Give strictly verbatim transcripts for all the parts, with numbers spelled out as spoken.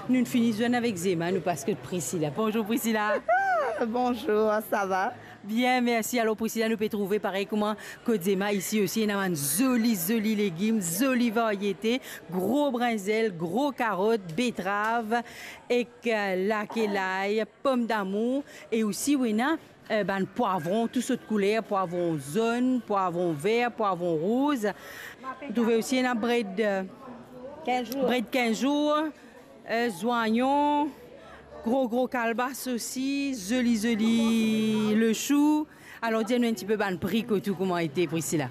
Nou fini zwenn avek Zema, nou pas kot Priscilla. Bonzour Priscilla. Bonzour, sa va? Bien, mersi. Alor Priscilla, nou pe trouve parey kouma kot Zema isi osi, ena bann zoli, zoli legim, zoli variete, gro brinzel, gro karot, betrav, ek, eh, lake lay, pomdamour, e osi ou ena eh, bann pwavron, tou sort kouler, pwavron zonn, pwavron ver, pwavron rouz. Ou trouve osi ena bred, eh, kinz zour. Bred kinz zour, eh, zwanyon, gro, gro kalbas osi, zoli, zoli lechou. Alor, dir nou enn tipe bann pri kot ou, kouma ete, Priscilla?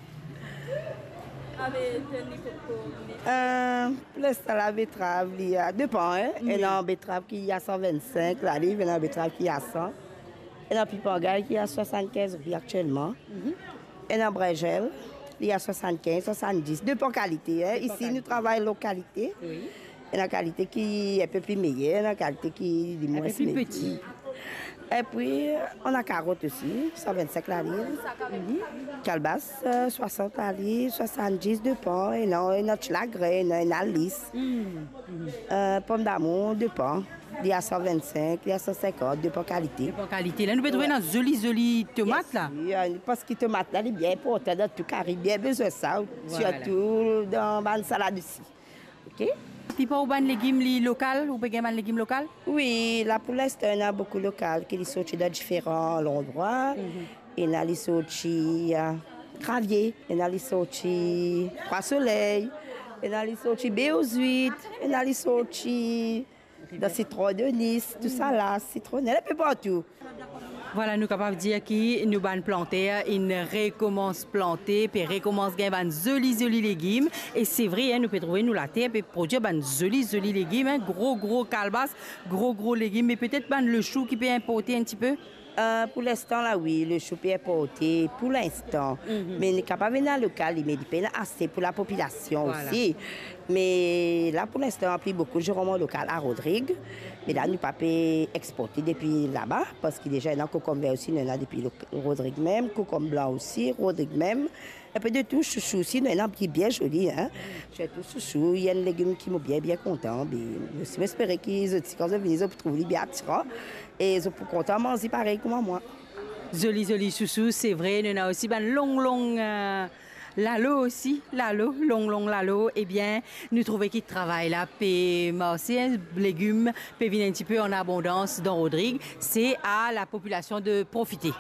Eh, pou linstan, la betrav, li a, depan, hein. Wi. Ena betrav ki a san vinn-sink laliv, ena betrav ki a san. Ena pipangay ki a swasann-kinz roupi aktielman. Mhm. Ena brinzel, li a swasann-kinz, swasann-dis, depan kalite, hein. Depan kalite. Isi, nou travay lor kalite. Wi. Ena kalite ki enpe pli meyer, ena kalite ki li mwins meyer. Enpe pli peti. Epi, ena karot osi, san vinn-sink laliv. Mhm. Kalbas, eh, swasant laliv, swasann-dis, depan. Ena, ena ti lagrin, ena, ena lis. Mhm. Eh, pomdamour, depan. Li a san vinn-sink, li a san sinkant, depan kalite. Depan kalite. La, nou pe trouve ena zoli, zoli tomat la. Yes, wi, eh, parski tomat la, li bien inportan dan tou kari, bien bizin sa, sirtou dan bann salad osi. Ok? Tipa ou bann legim, li lokal, ou pe gagn bann legim lokal? Wi, la pou linstan, ena boukou lokal ki li sorti dan diferan landrwa. Mhm. Ena li sorti, eh, Kravie, ena li sorti Trwa Soley, ena li sorti Beozwit, ena li sorti dan Sitron de Nis, tousala, Sitronel, enpe partou. Vwala, nou kapav dir ki nou bann planter inn rekomans plante, pe rekomans gagn bann zoli, zoli legim. E se vre, hein, nou pe trouve nou later pe prodwir bann zoli, zoli legim, hein, gro, gro kalbas, gro, gro legim, me petet bann lechou ki pe inporte enn tipe. Eh, pou linstan la, wi, lechou pe inporte, pou linstan. Mhm. Me li kapav ena lokal, me li pena ase pou lapopilasion osi. Me la, pou linstan, pli boukou, nou rann lokal a Rodrig. Me la, nou pa pe exporte depi laba, parski deza ena kokomber osi, nou ena depi lo-, Rodrig mem, kokomb blan osi, Rodrig mem. Enpe de tou, sousou osi, nou ena ki bien zoli, hein. Sirtou sousou, li enn legim ki mo bien, bien kontan. Be, mo osi, mo espere ki zot osi, kan zot vini, zot pou trouv li bien atiran. E zot pou kontan manze parey kouma mwa. Zoli, zoli sousou, se vre. Nou ena osi bann long, long, eh, lalo osi, lalo, long, long lalo. Ebien, nou trouve ki travay la pe marse, hein, legim pe vinn enn tipe an abondans dan Rodrig. Se a lapopilasion de profite.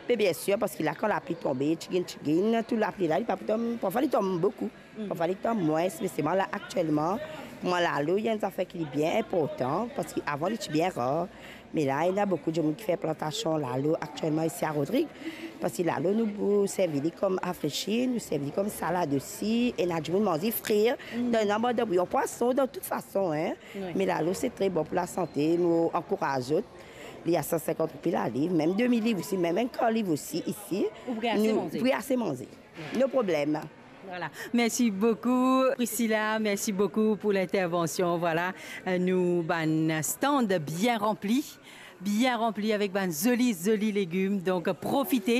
Me biensir, parski la, kan lapli tonbe, tiginn, tiginn, tou lapli la, li pa pou tom, parfwa li tom boukou, parfwa li tom mwins, me selman la, aktielman, pou mwa, lalo, li enn zafer ki li bien inportan, parski avan, li ti bien rar, me la, ena boukou dimoun ki fer plantasion lalo aktielman isi a Rodrig, parski lalo, nou pou servi li kom afresi, nou servi li kom salad osi, ena dimoun manze frir, dan, ena bann bouyon pwason, dan tout fason, hein. Wi. Me lalo, se tre bon pou lasante, nou ankouraz zot. Li a san sinkant roupi laliv, mem de mil liv osi, mem enn kar liv osi isi. Ou pou gagn ase manze. Pou gagn ase manze. No problem. Vwala. Mersi boukou, Priscilla. Mersi boukou pou lintervansion. Vwala, eh, nou bann stand bien ranpli. Bien ranpli avek bann zoli, zoli legim. Donk, profite.